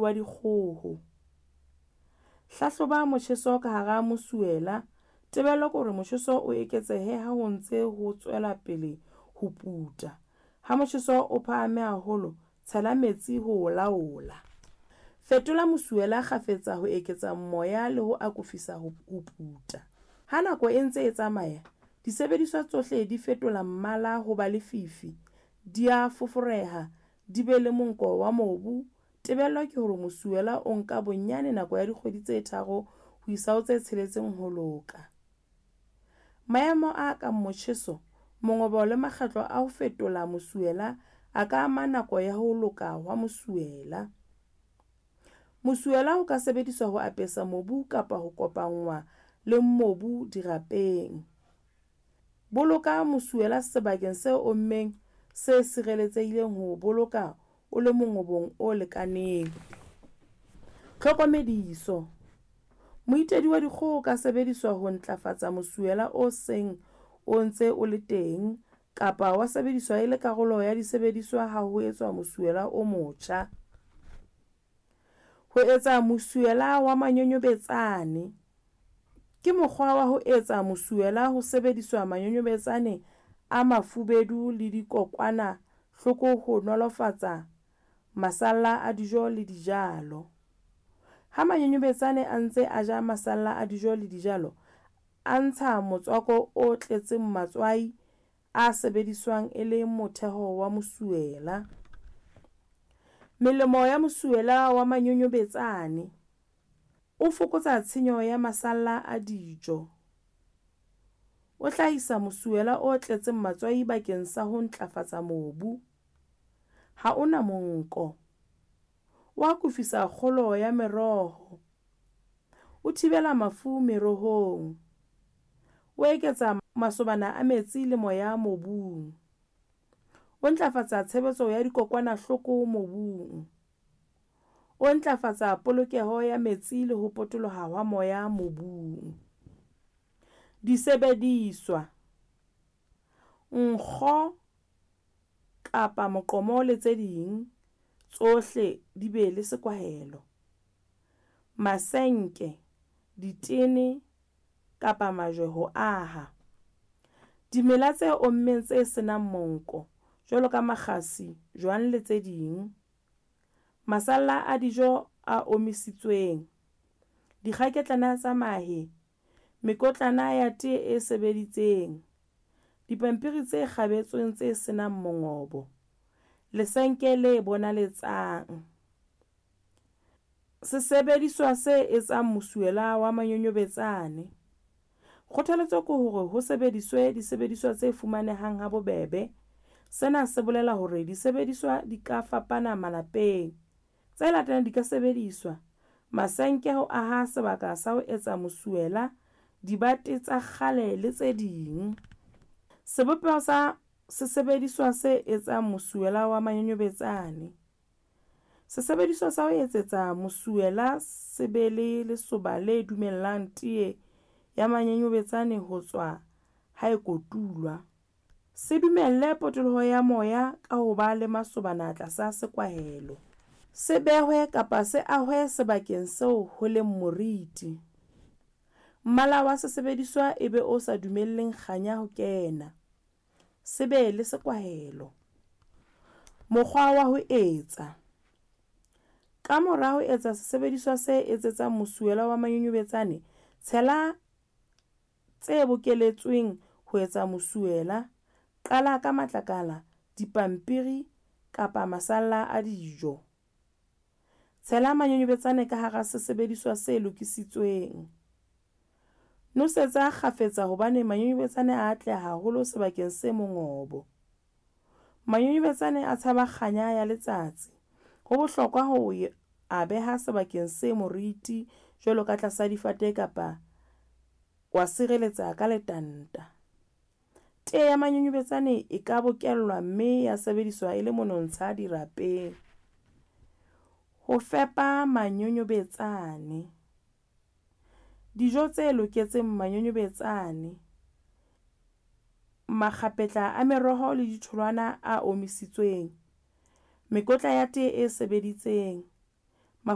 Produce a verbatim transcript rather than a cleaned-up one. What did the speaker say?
wa dikgoho. Hlahloba motjheso ka hara mosuwela. Tebello ke hore motjheso o eketsehe ha ho ntse ho tswela pele ho puta. Ha motjheso o phahame haholo, tshela metsi ho o laola. Fetola mosuwela kgafetsa ho eketsa moya le ho akofisa ho puta. Ha nako e ntse e tsamaya, disebediswa tsohle di fetola mmala ho ba lefifi, di a foforeha, di be le monko wa mobu. Tebello ke hore mosuwela o nka bonyane nako ya dikgwedi tse tharo ho isa ho tse tsheletseng ho loka. Maemo a kang motjheso, mongobo le makgetlo a ho fetola mosuwela a ka ama nako ya ho loka hwa mosuwela. Mosuwela o ka sebediswa ho apesa mobu kapa ho kopanngwa le mobu dirapeng. Boloka mosuwela sebakeng se ommeng, se sireletsehileng ho o boloka o le mongobong o lekaneng. Tlhokomediso: Moitedi wa dikgoho o ka sebediswa ho ntlafatsa mosuwela o seng o ntse o le teng kapa wa sebediswa e le karolo ya disebediswa ha ho etswa mosuwela o motjha. Ho etsa mosuwela wa manyonyobetsane. Ke mokgwa wa ho etsa mosuwela ho sebediswa manyonyobetsane a mafubedu le dikokwanahloko ho nolofatsa masalla a dijo le dijalo. Ha manyonyobetsane a ntse a ja masalla a dijo le dijalo, a ntsha motswako o tletseng matswai a sebediswang e le motheho wa mosuwela. Melemo ya mosuwela wa manyonyobetsane. O fokotsa tshenyo ya masalla a dijo. O hlahisa mosuwela o tletseng matswai bakeng sa ho ntlafatsa mobu. Ha o na monko. O akofisa kgolo ya meroho. O thibela mafu merohong. O eketsa masobana a metsi le moya mobung. O ntlafatsa tshebetso ya dikokwanahloko mobung. O ntlafatsa polokeho ya metsi le ho potoloha ha moya mobung. Disebediswa: Nkgo kapa moqomo le tse ding, tsohle di be le sekwahelo. Masenke, ditene kapa majwe ho aha. Dimela tse ommeng tse se nang monko, jwalo ka makgasi, jwang le tse ding. Masalla a dijo a omisitsweng. Dikgaketlana tsa mahe, mekotlana ya tee e sebeditseng. Dipampiri tse kgabetsweng tse se nang mongobo. Lesenke le bonaletsang. Sesebediswa se etsang mosuwela wa manyonyobetsane. Kgothaletso ke hore ho sebediswe disebediswa tse fumanehang ha bobebe. Sena se bolela hore disebediswa di ka fapana malapeng. Tse latelang di ka sebediswa: masenke ho aha sebaka sa ho etsa mosuwela, dibate tsa kgale le tse ding. Sebopeho sa sesebediswa se etsang mosuwela wa manyonyobetsane. Sesebediswa sa ho etsetsa mosuwela se be le lesoba le dumellang tee ya manyonyobetsane ho tswa ha e kotulwa. Se dumelle potoloho ya moya ka ho ba le masobana tlasa sekwahelo. Se behwe kapa se ahwe sebakeng seo ho leng moriti. Mmala wa sesebediswa e be o sa dumelleng kganya ho kena. Se be le sekwahelo. Mokgwa wa ho etsa. Ka mora ho etsa sesebediswa se etsetsang mosuwela wa manyonyobetsane, tshela tse bokeletsweng ho etsa mosuwela. Qala ka matlakala, dipampiri kapa masalla a dijo. Tshela manyonyobetsane ka hara sesebediswa se lokisitsweng. Nosetsa kgafetsa hobane manyonyobetsane a atleha haholo sebakeng se mongobo. Manyonyobetsane a tshaba kganya ya letsatsi. Ho bohlokwa ho a beha sebakeng se moriti jwalo ka tlasa difate kapa wa sireletsa ka letanta. Tee ya manyonyobetsane e ka bokellwa mme ya sebediswa e le monontsha dirapeng. Ho fepa manyonyobetsane. Dijo tse loketseng manyonyobetsane. Makgapetla a meroho le ditholwana a omisitsweng. Mekotla ya tee e sebeditseng.